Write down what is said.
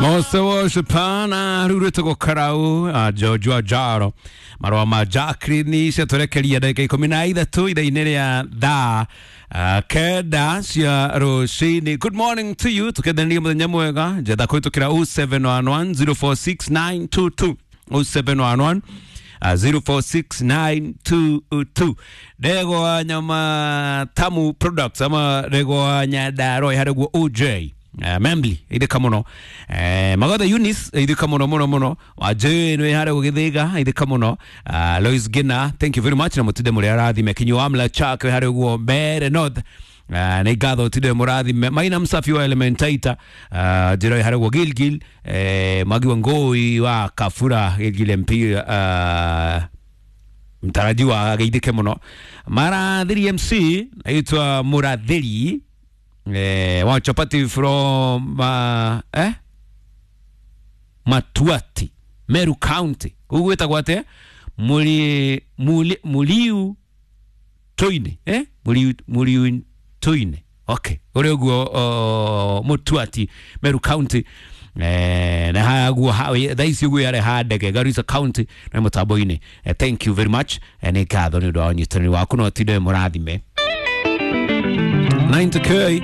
Mose woshipana rurĩte karau George wa Jaro marũa ma Jacqueline ciatũrekeria ndagĩka 13 ithaa-inĩ rĩa thaa 9 cia rũcinĩ. Good morning to you, tũkendania mũthenya mwega njetha kũhĩtũkĩra 0711 046922 0711 046922 ndegwa nyama tamu products ama ndegwa nyandarua harĩguo OJ Membli ithika muno, Magatha Eunice ithika muno muno muno, Wajĩ nĩ harĩa gũgĩthĩga ithika muno, Lois Gina, thank you very much na mũtinde mũrĩ arathime Kinyo Amla Chak harĩa ũguo Mbere North, nĩ ngatho tinde mũrathime Maina Msafi wa Elementaita, njĩra harĩa ũguo Gilgil, Magi wa Ngoi wa Kafura Gilgil MP, mtarajiwa ageithĩke mũno Marathiri MC aitwa Mũrathiri wa chapati from Matuati Meru County ugwitagwo atia muri muri muriu toine muriu muriu toine okay uri uguo Mutuati Meru County, na haguo thaa ici uguo yare handege Garissa County na mutambo-inĩ. Thank you very much, nĩ ngatho nĩ ũndũ wa ũnyitanĩri waku no tinde mũrathime 90K.